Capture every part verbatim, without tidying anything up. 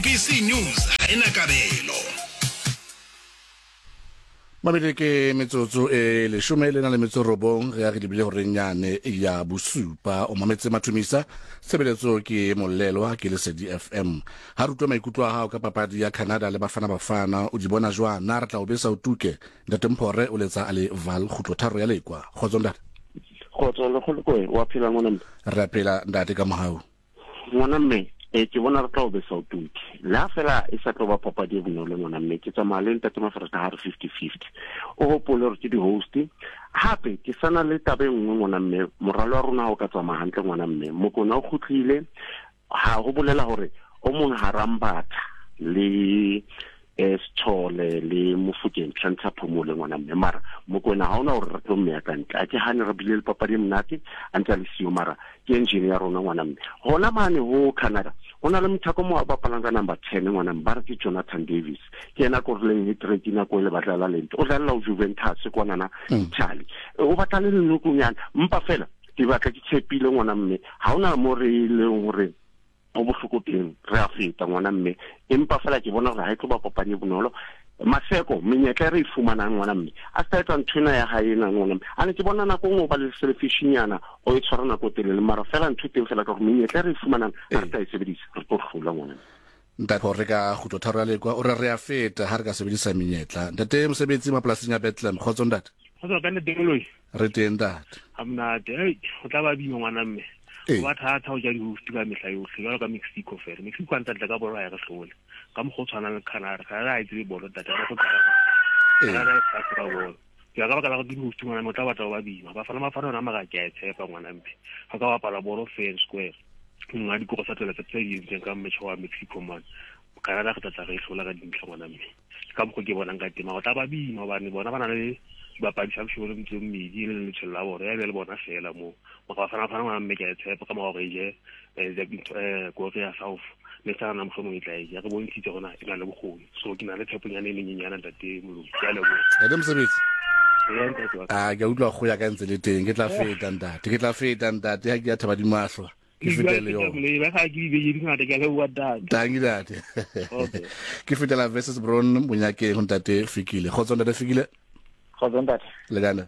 S A B C News ha e na kabelo. Mabedi ke metsotso e leshome le na le metso robong re ya re lebile horeng yane ya bosupa. O mametse Mathomisa, tshebeletso ke Molelwa ke Lesedi F M. Ha re utlwe maikutlo a hao ka papadi ya Canada le Bafana Bafana, o di bona jwang? Na re tla o besa o tuke? Ntate Mphore o letsa a le Val kgutlo tharo ya Lekwa. Kgotso, ntate. Kgotso le kgolokoe, wa phela, ngwana mme? Re a phela, ntate, ka mohau. Ngwana mme, e ke bona re tla o besa o tuke le ha fela e sa tlo ba papadi e bonolo, ngwana mme. Ke tsamaya le ntate Mafereta ha re fifty fifty. O hopole hore ke di-host. Hape ke sana le taba e nngwe, ngwana mme. Moralo wa rona ha o ka tsamaya hantle, ngwana mme, Mokona o kgutlile, ha ho bolela hore o mong harambatha le eh Sithole le Mofokeng tshwantsha phomole, ngwana mme. Mara Mokwena ha ona hore re tlo mmeya ka ntle. A ke hane re bile le papadi e monate a ntse a le siyo, mara ke engine ya rona, ngwana mme. Hona mane ho Canada ho na le mothako mo a bapalang ka number ten, ngwana mme, ba re ke Jonathan Davis. Ke yena korileng hat-trick nako e le batla lente o dlalla ho Juventus kwanana Italy. O batla le lenokonyana mpa fela ke batla ke tshepile, ngwana mme. Ha hona mo re leng hore ho bohloko teng, re a feta, ngwana mme. Empa fela ke bona hore ha e tlo ba papadi e bonolo. Maseko menyetla e re e fumanang, ngwana mme, a se ka etsa nthwena ya hae ena, ngwana mme. A ne ke bona nako nngwe o ba le selfishinyana, o e tshwara nako e telele, mara fela ntho e teng fela ka gore menyetla e re e fumanang ha re ka e sebedisa, re tlo hlola, ngwana mme. Ntate Phore ka kgutlo tharo ya Lekwa o re re a feta ha re ka sebedisa menyetla. Ntate Mosebetsi mapolasing ya Bethlehem, kgotso, ntate. Kgotsa ka ntate Moloi. Re teng, ntate. Ha monate. Ei, go tla ba bima, ngwana mme. Ee. Go ba thata go ja di-host ka mehla yotlhe jalo ka Mexico fela. Mexico a ntse ka bolo, ha e re hlole ka mokgwa o tshwanang le Canada. Canada ha e tsebe bolo, ntate, ha re tlo qala. Ee. Canada e fast ka bolo. Ke ya ka baka la gore di-host, ngwana mme, o tla batla go ba bima. Bafana Bafana yona mara ke a e tshepa, ngwana mme, ga ka bapala bolo fair and square, mongwe a dikoro sa tswela tse di entseng ka mmetšha wa Mexico mane, Canada re tlatla re e hlola ka dintlha, ngwana mme. Ke ka mokgwa ke bonang ka teng, mara o tla ba bima hobane bona ba na le dibapadi sa boshego le metso e mmedi e le letsholo la bona ya be le bona fela moo. Mara Bafana Bafana, ngwana mme, ke a e tshepa ka mora gore e je eh, Korea South le sa na mohlomong e tla e ja. Re bontshitse gona e na le bokgoni, so ke na le tsheponyana e menyenyana, ntate Moloi. Ke a leboha. Ntate Mosebetsi. Ee, ntate wa ka. A ke a utlwa go ya ka ntse le teng. Ke tla feta, ntate, ke tla feta, ntate, ha ke ya thaba dimahlwa ke fete le yona. Ba ga ke dibeke di ngata. Ke a leboha, ntate. Tanki, ntate. Okay. Ke fetela versus Bron Monyakeng ho ntate Fikile. Kgotso, ntate Fikile. Kgotso, ntate. Le kana?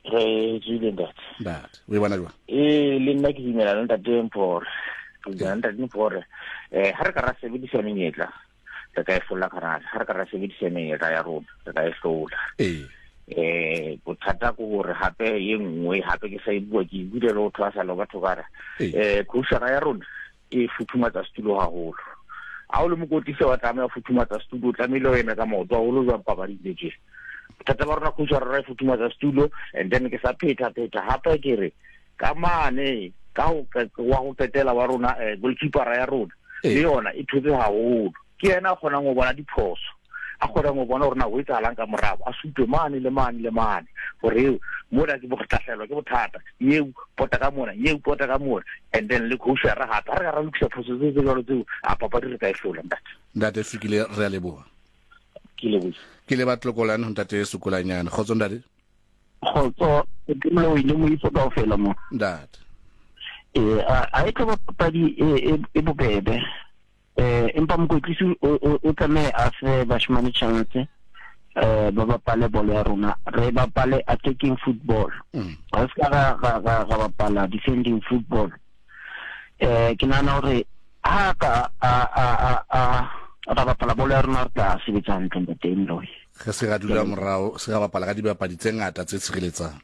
Re tswile, ntate. Ntate, o e bona jwang? Ee, le nna ke dumela le ntate Mphore, ke dumela le ntate Mphore. um ha re ka ra sebedisa menyetla, re ka e hlola Canada. Ha re ka ra sebedisa menyetla ya rona, re ka e hlola. Ee eh bothata ke hore hape e nngwe hape ke sa e bua, ke e buile le ho thwasa le batho ka re Ee. eh coachara ya rona e futhumatsa setulo haholo. Ha o le mokwetlisi wa tlameha ho futhumatsa setulo, o tlamehile o eme ka maoto haholo jwang papading tse tje. Bothata ba rona, coachara rona e futhumatsa setulo. And then ke sa phetha phetha hape, ke re ka mane ka ho wa ho qetela wa rona, eh, goalkeepera ya rona Ee. le yona e thotse haholo. Ke yena a kgonang ho bona diphoso, a kgonang ho bona hore na ho etsahalang ka morao, a supe mane le mane le mane hore eo mona ke bohlahlelwa ke bothata, eo pota ka mona, eo pota ka mona. And then le coachara hape, ha re ka ra lokisa phoso tse tse jwalo tseo, a papadi re ka e hlola, ntate. Ntate Fikile, re a leboha. Ke lebohile. Ke le batlokolane ho ntate Sokolanyane. Kgotso, ntate. Kgotso, ke Moloi le moifo kaofela mo. Ntate. Ee, a a e tlo ba papadi e e- e bobebe, eh empa mokwetlisi o o- o tlameha a fe bashemane chance, eh ba bapale bolo ya rona, re bapale attacking football. Mm. Ga se ka ra ra ra ra bapala defending football. eh ke nahana hore ha ka a a a a ra bapala bolo ya rona, re tla sebetsa hantle, ntate Moloi. Re se ra dula morao, se ra bapala ka dibapadi tse ngata tse tshireletsang.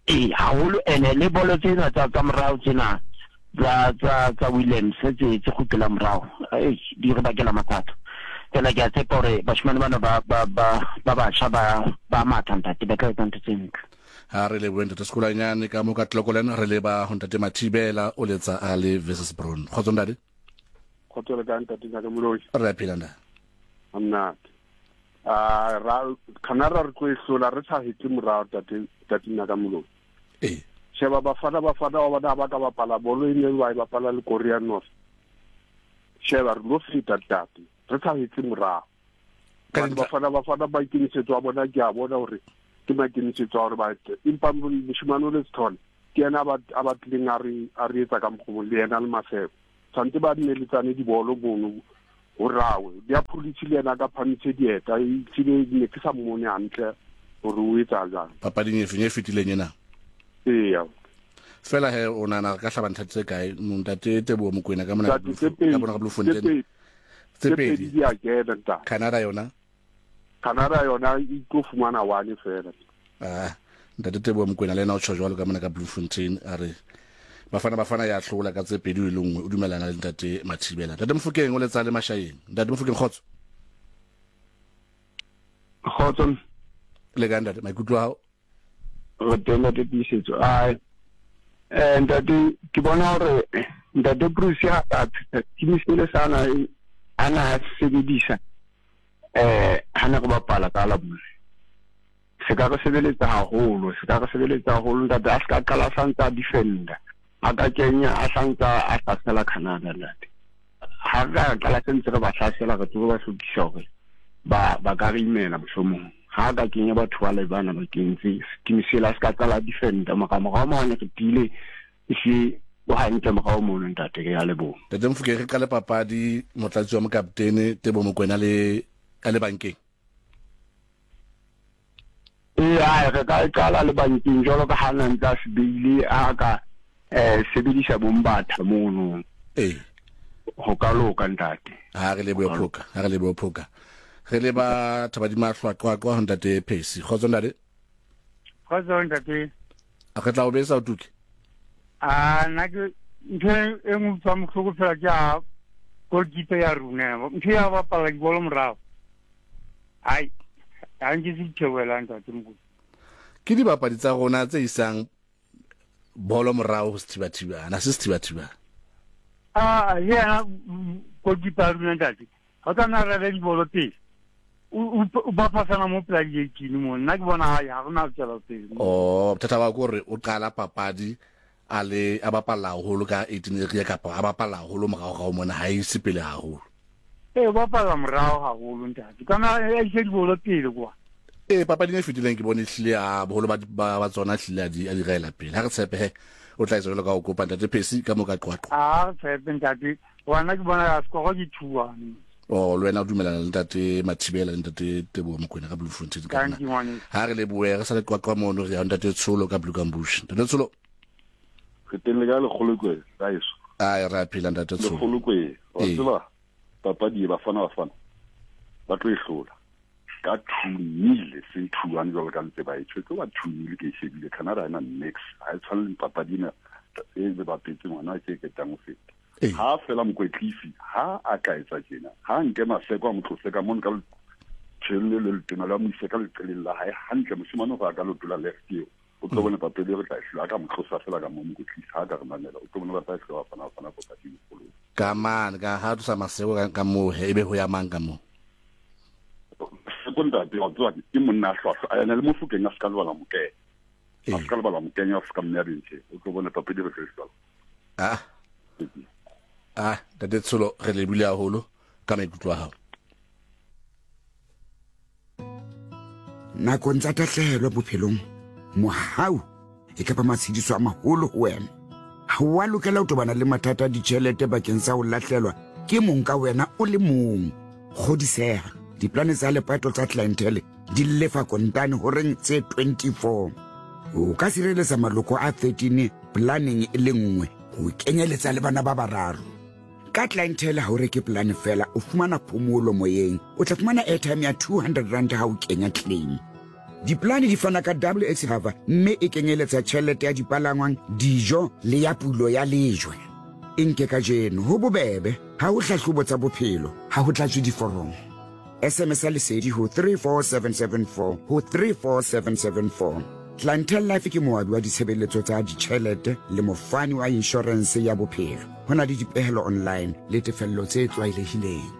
Ee, haholo. Ene le bolo tsena tsa tsa morao tsena tsa tsa tsa Williams tse tse kgutlelang morao, ei, di re bakela mathata fela. Ke a tshepa hore bashemane bana ba ba ba ba batjha ba ba matha, ntate, ba tla etsa ntho tse ntle. Ha re lebohe, ntate Sekolanyane ka mo ka Tlokolen. Re leba ho ntate Mathibela, o letsa a le versus Bron. Kgotso, ntate. Kgotso, le kae, ntate Ngaka Moloi? Re a phela, ntate. Ha monate. A ra Canada re tlo e hlola re sa hetle morao, tate tate Ngaka Moloi. Ee sheba Bafana Bafana wa bona ba ka bapala bolo e ne ba e bapala le Korea North. Sheba, re lo feta, tate, re sa hetle morao. Ka Hobane dintlha- Bafana Bafana maikemisetso a bona ke a bona hore ke maikemisetso a hore ba ete, empa moshemane o le Sithole ke yena a ba- a batlileng a re a re etsa ka mokgwa le yena le Maseko tshwanetse ba neletsane dibolo mono. O rawe dia police le yena ka phamitse dieta e tsile ne ke sa mmone hantle hore o etsa jang papading e feng e fetileng ena. Eya fela he o nana ka hlaba ntlha tse kae ntate Teboho Mokoena ka mona ka bona ka Bloemfontein tse pedi di a kena ntate. Canada yona Canada yona e tlo fumana one fela. Ah ntate Teboho Mokoena le ena o tjho jwalo ka mona ka Bloemfontein a re Bafana Bafana ya hlola ka tse pedi e le nngwe o dumelana le ntate Mathibela. Ntate Mofokeng o letsa le Mashayeng. Ntate Mofokeng kgotso. Kgotso. Le kae ntate maikutlo a hao? Re teng ntate Tiisetso. Ai. Eh ntate ke bona hore ntate Bruce ya a team sele sana ana sebedisa eh hana go bapala ka la bone. Se ka re sebeletsa haholo, se ka re sebeletsa haholo ntate a ska qala santsa defender. A ka kenya a santsa a hlasela Canada ntate. Ha ka qala sentse re ba hlasela re tsebe ba hlokisa hore ba ba ka re imela mohlomong. Ha ka kenya batho ba le bana ba kentse team sela se ka qala defender mara morao mane re tile se o hantle morao mono ntate ke ya leboha. Ntate Mofokeng re qale papadi motlatsi wa mokaptene Teboho Mokoena le ka le bankeng. Ee re ka qala le bankeng jwalo ka ha na ntse a se beile a ka eh sebedisa bombatha mono. Ee ho ka loka ntate. Ha re lebohe phoka, ha re lebohe phoka. Re le ba Thabadima hlwaqwaqwa ho ntate Phesi. Kgotso ntate. Kgotso ntate. A re tla o besa o tuke. Ah nna ke ntho e nngwe tswa mohloko fela ke a goalkeeper ya rona. Ntho ya bapala dibolo morao. Ai ha nke se theohela ntate Mokoti. Ke dibapadi tsa rona tse isang bolo morao ho sethibathibana, se sethibathibana. Ah yena goalkeeper ya rona ntate. Ha tla re re dibolo pele. O ba pasana mo pela di-eighteen mo nna ke bona ha ya rona tswela pele. Oh bothata ba ke hore o qala papadi a le a bapala haholo ka eighteen area kapa a bapala haholo morao ga o mona ha e se pele haholo. Ee bapala morao haholo ntate. Kana a ise dibolo pele kwa. Ee papading e fetileng ke bone hlile a boholo ba ba tsona hlile a di a di raela pele. Ha re tshepe he o tla etsa jwalo ka ho kopa ntate Phesi ka mo ka Qwaqwa. Ah tshepe ntate. Wena ke bona ya score ke two one. Oh le wena o dumelana le ntate Mathibela le ntate Teboho Mokoena ka Bloemfontein ka nna. Ha re lebohe re sa le Qwaqwa mono re ya ntate Tsholo ka Bloemkambush. Ntate Tsholo. Re teng le ka lekgolokwe ka eso. Ai re a phela ntate Tsholo. Lekgolokwe wa tseba papadi e Bafana Bafana ba tlo e hlola ka two nil seng two one jwalo ka ntse ba e tjho tlo ba two nil ke e shebile Canada ha ena nix ha e tshwane le papadi ena e be bapetse ngwana ke ketang ho feta. Ha fela mokwetlisi ha a ka etsa tjena ha nke Maseko a mo tlose ka mono ka tjhelle le letona la mo ise ka leqeleng la hae hantle moshemane hore a ka lotola left eo o tlo bona papadi e re tla e hlola. A ka mo tlosa fela ka mo mokwetlisi ha ka re mamela o tlo bona ba tla e hlola Bafana Bafana papadi e kgolo. Ka mane ka ha tlosa Maseko ka moo he ebe ho ya mang ka moo. Maseko ntate wa tswa ke monna a hlwahlwa a ena le Mofokeng a ska lebala mokenya a ska lebala mokenya a ska mme a bentshe o tlo bona papadi re tla e hlola. Ah ah ntate Tsholo re lebile haholo ka maikutlo a hao. Nakong tsa tahlehelo bophelong mohau e ka ba matshediso a maholo ho wena. Ha o a lokela ho tobana le mathata a ditjhelete bakeng sa ho lahlelwa ke mong ka wena o le mong. Kgodiseha diplane tsa lepato tsa clientele di lefa kontane horeng tse twenty-four. O ka sireletsa maloko a thirteen planeng e le nngwe ho kenyeletsa le bana ba bararo. Ka clientele ha o reke plan fela o fumana phomolo moyeng. O tla fumana airtime ya two hundred rand ha o kenya claim. Diplane di fana ka W X cover mme e kenyeletsa tjhelete ya dipalangwang, dijo le ya pulo ya lejwe. E nke kajeno ho bobebe ha ho hlahlobo tsa bophelo, ha ho tlatswe diforomo. S M S ya lesedi ho three four seven seven four ho three four seven seven four. Clientele Life ke moabi wa ditshebeletso tsa ditjhelete le mofani wa inshorense ya bophelo. Ho na le dipehelo online le tefello tse tlwaelehileng.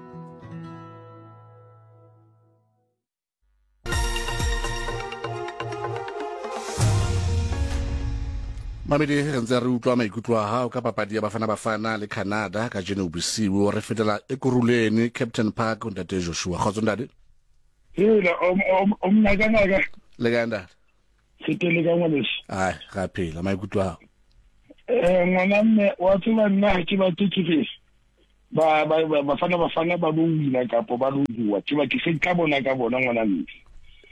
Mamedi re ntse re utlwa maikutlo a hao ka papadi ya Bafana Bafana le Canada ka jeno bosiu. Re fetela Ekurhuleni Captain Park ntate Joshua. Kgotso ntate. Hela o mnaka naka. Le kae ntate? Setele ka ngwaneso. Ai ga phela maikutlo a hao. Eh ngwana mme wa tseba nna ha ke batle ke re. Ba ba Bafana Bafana ba lo wina kapo ba lo bua. Ke ba ke se ka bona ka bona ngwana mme.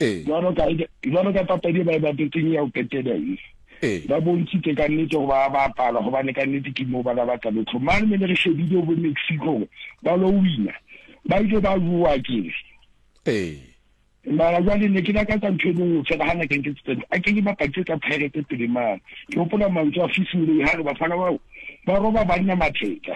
Eh. Jwalo ka jwalo ka papadi ba e bapetseng ya ho qetela e. Eh. Ba bontshitse ka nnete hore ba bapala hobane ka nnete ke moo ba la batla lotho. Mane me re shebile bo Mexico ba lo wina. Ba ile ba bua ke. Eh. Mara jwale ne ke lakatsa ntho e nngwe fela ha ne ke nketse a ke ke bapatse tsa Pirates pele mane. Ke hopola mantswe a Fisi Moloi ha re bafana bao ba roba banna matheka.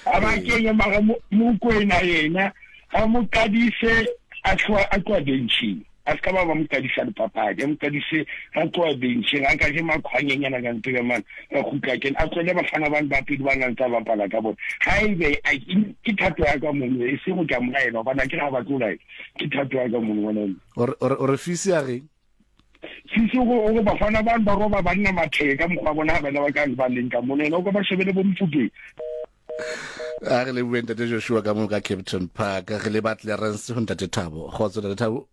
A ba kenye mara Mokoena yena a mo qadise a tloha a tloha benching. A ska ba ba mo qadisa dipapadi, a mo qadise a tloha benching, a ka je makhwanyenyana ka ntho ya mane, a kgutla kena, a tlohele bafana bane ba pele ba nang tsa bapala ka bona. Haebe ke thato ya ka mono, e seng ho ka mo laela hobane akere ha batle ho laela. Ke thato ya ka mono ngwana. O re o re Fisi a reng? Fisi o re bafana bane ba roba banna matheka mokgwa bona ha bana ba ka ba leng ka mono, yena o ka ba shebele bo Mofokeng. A re lebohe ntate Joshua ka moo ka Captain Park, re le ba Clarence ho ntate Thabo. Kgotso ntate Thabo.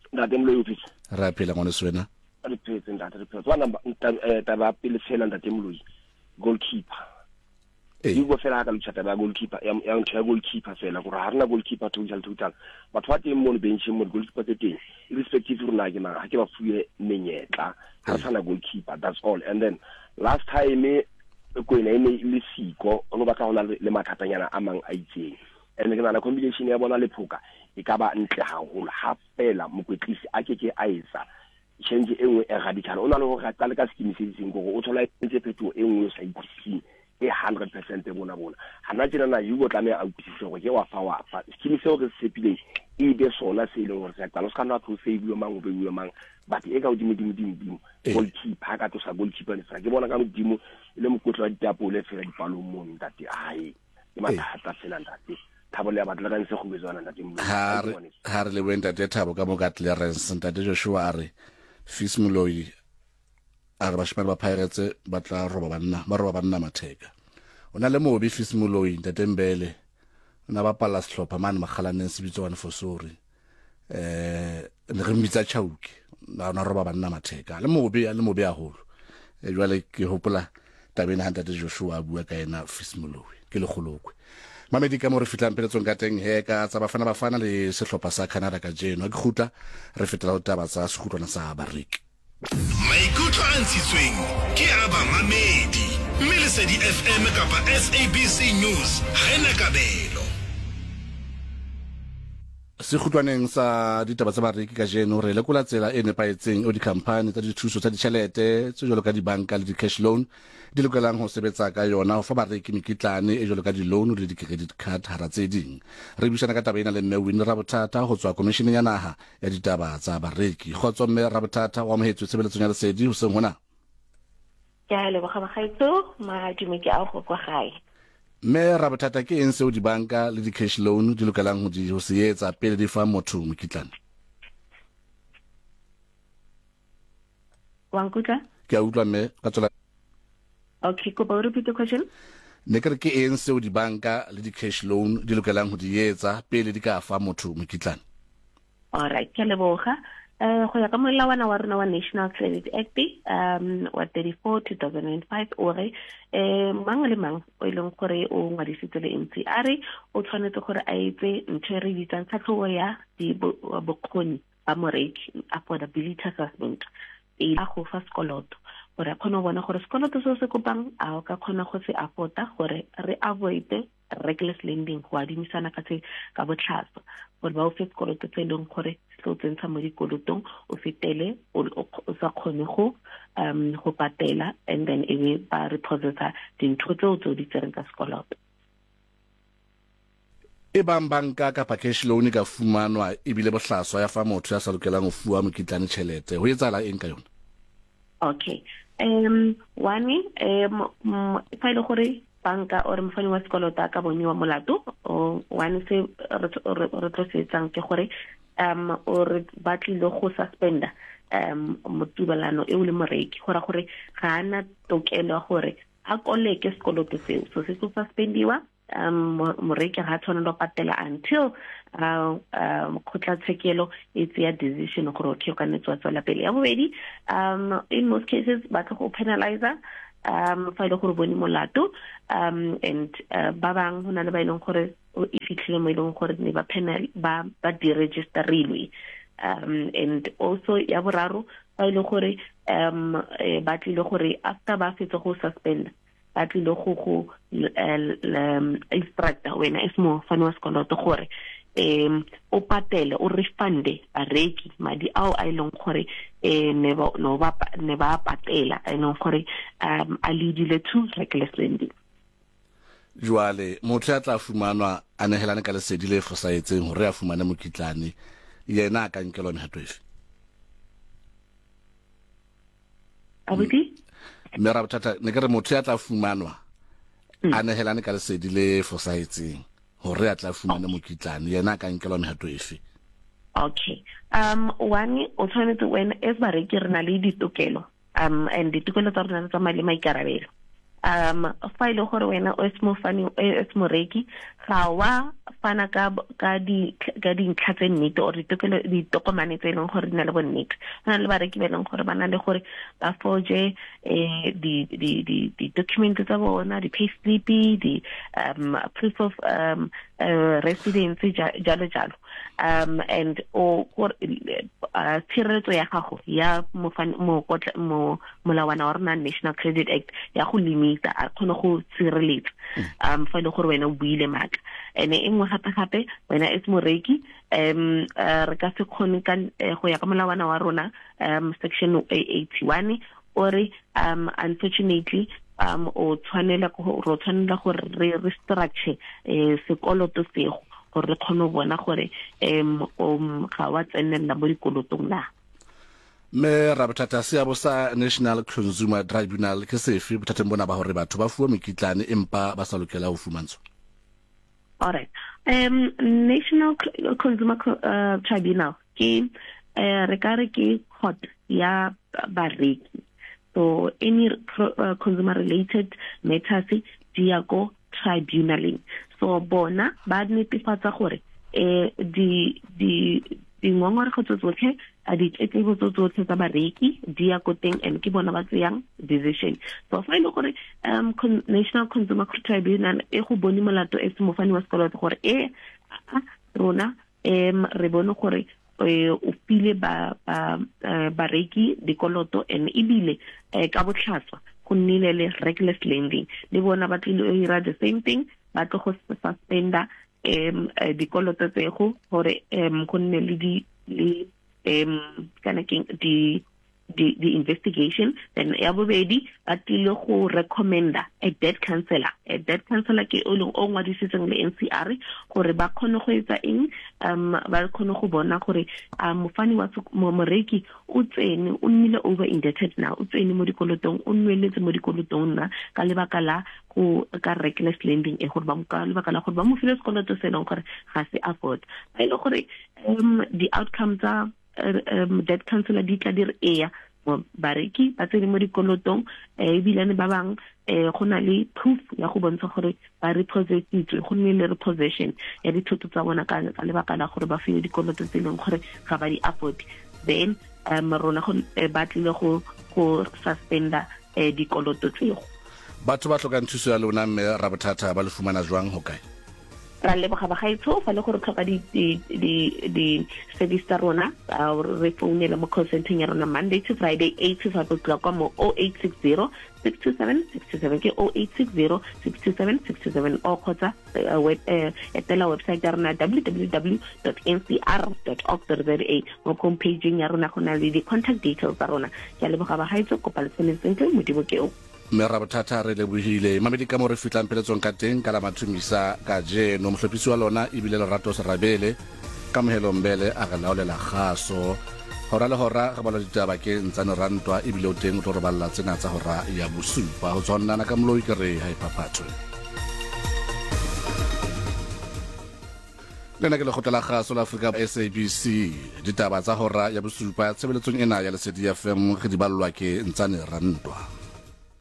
Ntate Moloi office. Re a phela ngwaneso wena. Re phetse ntate, re phetse. Wa namba taba pele fela ntate Moloi, goalkeeper. Eh. Hugo fela ha ka lutsa taba ya goalkeeper, ya ya ntho ya goalkeeper fela gore ha rena goalkeeper total total. Batho ba teng mono benching mono goalkeeper tse teng, irrespective rona ke mang, ha ke ba fuwe menyetla, ha re sana goalkeeper, that's all. And then last time Kwena e ne e le siko, o no batla ho na le mathatanyana a mang a itseng. And ke nahana combination ya bona le Phoka e ka ba ntle haholo ha fela mokwetlisi a ke ke a etsa change e nngwe e radical. O na le hore a qale ka scheme se seng gore o thola entse phetoho e nngwe o sa utlwisising e hundred percent bona bona. Hana tjena na Hugo tlameha a utlwisise hore ke wa fa wa fa. Scheme seo re se tshepileng e be sona se leng hore se a qala. O ska nna tlo se bue mang o be bue mang, but e ka hodimo dimo dimo dimo goalkeeper ha ka tlosa goalkeeper ne fela ke bona ka modimo e le mokotlo wa ditapole fela dipalong mono ntate. Ai ke mathata fela ntate. Thabo le ya batla ka ntse go betswana ntate Moloi. Ha re ha re lebohe ntate Thabo ka moo ka Clarence. Ntate Joshua a re Fisi Moloi a re bashimane ba Pirates ba tla roba banna, ba roba banna matheka. O na le mobi Fisi Moloi ntate Mbele. O na bapala sehlopha mane Makgalaneng se bitswa Fosori. Eh ne re mmitsa Chauke. Na na roba banna matheka. Le mobi a le mobi haholo. E jwale ke hopola tabeng ha ntate Joshua a bua ka yena Fisi Moloi ke lekgolokwe. Mamedi ka mo re fitlang peletsong ka teng he ka tsa Bafana Bafana le sehlopha sa Canada ka jeno. Ke kgutla re fetela ho taba tsa sekgutlwana sa bareki. Maikutlo a ntshitsweng ke a bamamedi mme Lesedi F M kapa S A B C News ha ena kabelo. Sekgutlwaneng sa ditaba tsa bareki ka jeno re lekola tsela e nepahetseng o dikhamphani tsa dithuso tsa ditjhelete tse jwalo ka dibanka le di-cash loan di lokelang ho sebetsa ka yona ho fa bareki mekitlane e jwalo ka di-loan le di-credit card hara tse ding. Re buisana ka taba ena le mme Winnie Rabothata ho tswa Komisheneng ya Naha ya Ditaba tsa Bareki. Kgotso mme Rabothata, o amohetswe tshebeletsong ya Lesedi hoseng hona. Ke a leboga bagaetso, madume ke a go kwa gae. Mme Rabothata, ke eng seo dibanka le di-cash loan di lokelang ho di ho se etsa pele di fa motho mokitlane? Wa nkutlwa? Ke a utlwa mme, ka tswela. Okay, kopa o repeat the question. Ne ke re ke eng seo dibanka le di-cash loan di lokelang ho di etsa pele di ka fa motho mokitlane? All right, ke a leboga. Eh go ya ka molawana wa rona wa National Credit Act um wa thirty-four two thousand five o re eh mang le mang o e leng gore o ngwadisitse le M C R o tshwanetse gore a etse ntho e re bitsang tlhatlhobo ya bokgoni ba moreki, affordability assessment, pele a go fa sekoloto gore a kgone go bona gore sekoloto se o se kopang a o ka kgona go se afforda, gore re avoid reckless lending, go adimisana ka tse ka botlhaswa, gore ba o fe sekoloto tse e leng gore se tlo tsentsha mo dikolotong o fetele o sa kgone go um go patela, and then e be ba repossessa dintho tseo tse o di tsereng ka sekoloto. E bang banka kapa cash loan ka fumanwa ebile bohlaswa ya fa motho ya sa lokelang ho fuwa mokitlane tjhelete, ho etsahala eng ka yona? Okay. Um one um fa ile gore banka or mofani wa sekoloto a ka boniwa molato, o one se re tlo se etsang ke gore um o re ba tlile go suspenda um motubalano eo le moreki, go ra gore ga ana tokelo ya gore a koleke sekoloto seo, so se tlo suspendiwa. Um moreki ga tshwanela go patela until uh um kgotlatshekelo e tseya decision gore okay o ka nne tswa tswela pele. Ya bobedi, um in most cases ba tlo go penalizer um fa ile gore bone molato um and uh, ba bang hona le ba ileng gore e fitlhile mo ileng gore ne ba penal ba ba deregisterilwe. Um and also ya boraro fa ile gore um ba tlile gore after ba fetse go suspend ba tlile go go instructor wena as mofani wa sekoloto gore um o patele o refunde bareki madi ao a ileng gore eh ne ba no ba ne ba patela a ileng gore um a leadile to reckless lending. Jwale motho ya tla fumanwa a nehelane ka lesedi le fosahetseng hore a fumane mokitlane, yena a ka nkelwa mehato efe? Abuti? Mme Rabothata, ne ke re motho ya tla fumanwa a nehelane ka lesedi le fosahetseng hore a tla fumane mokitlane, yena a ka nkelwa mehato efe? Okay. Um one o tshwanetse wena as bareki re na le ditokelo um and ditokelo tsa rona tsa mali maikarabelo. Um fa ile gore wena o se mofani o se moreki ga wa fana ka ka di ka dintlha tse nnete or ditokelo ditokomane tse leng gore di na le bonnete. Go na le bareki ba leng gore ba na le gore ba forge eh di di di di document tsa bona, di pay slip, di um proof of um uh, residence jalo jalo. Um and o uh, tshireletso ya gago ya mofani mo mo molawana wa rona National Credit Act ya go limita a kgone go tshireletsa um fa ile gore wena o buile maaka. Ene e nngwe gape gape wena as moreki um re ka se kgone ka go ya ka molawana wa rona um section eighty-one ore um unfortunately um o tshwanela go ro tshwanela gore re restructure eh sekoloto sego gore re kgone go bona gore um um ga wa tsenella mo dikolotong na. Mme Rabothata, seabo sa National Consumer Tribunal ke sefe bothateng bona ba hore batho ba fuwe mekitlane empa ba sa lokela ho fumantshwa? All right. Um National Consumer uh, Tribunal ke eh re ka re ke court ya bareki. So any uh, consumer related matters di ya ko tribunaleng. So bona ba netefatsa gore eh di di dingongorego tse tsotlhe a ditletlebo tse tsotlhe tsa bareki di ya ko teng and ke bona ba tseyang decision. So fa ile gore um Con National Consumer Tribunal e go bone molato e se mofani wa sekoloto gore e rona em re bone gore o file ba ba bareki dikoloto and ebile ka botlhatswa go nnile le reckless lending, le bona ba tlile go dira the same thing, ba tlo go suspenda um dikoloto tsego gore um go nne le di le um kana keng di di the investigation. Then ya bobedi ba tlile go recommenda a debt counselor. A debt counselor ke o leng o ngwadisitseng le N C R gore ba kgone go etsa eng, um ba kgone go bona gore mofani wa moreki o tsene o nnile over indebted na, o tsene mo dikolotong, o nweletse mo dikolotong na ka lebaka la go ka reckless lending e gore ba ka lebaka la gore ba mo file sekoloto se leng gore ga se afford. Ba ile gore um di outcomes tsa um debt counselor di tla dire ea bareki ba tsene mo dikolotong ebilane ba bang go na le proof ya go bontsha gore ba repossessitswe, go nne le repossession ya dithoto tsa bona ka lebaka la gore ba file dikoloto tse leng gore ga ba di afford. Then um rona go ba tlile go go suspenda dikoloto tseo. Batho ba tlhokang thuso ya lona mme Rabothata ba le fumana jwang ho kae? Ra leboga bagaetsho fa le gore tlhoka di di di service tsa rona, re founela mo call centeng ya rona Monday to Friday eight to five o'clock mo oh eight six zero six two seven six two seven ke oh eight six zero six two seven six two seven o kgotsa web etela website ya rona w w w dot n c r dot org dot z a. Mo homepage ya rona go na le di contact details tsa rona. Ke a leboga bagaetsho, kopa le tshwanetse sentle, Modimo ke o. Mme Rabothata, re lebohile. Mamedi ka mo re fitlang peletsong ka teng ka la mathomisa kajeno. Mohlophisi wa lona ebile Lerato Serabele, Kamohelo Mbele a re laolela kgaso. Hora le hora re bala ditaba ke Ntsane Rantwa ebile o teng o tlo re balla tsena tsa hora ya bosupa. Ho tswannana ka moloi ke re ha e phaphathwe. Lena ke lekgotla la kgaso la Afrika S A B C. Ditaba tsa hora ya bosupa tshebeletsong ena ya Lesedi F M re di ballwa ke Ntsane Rantwa.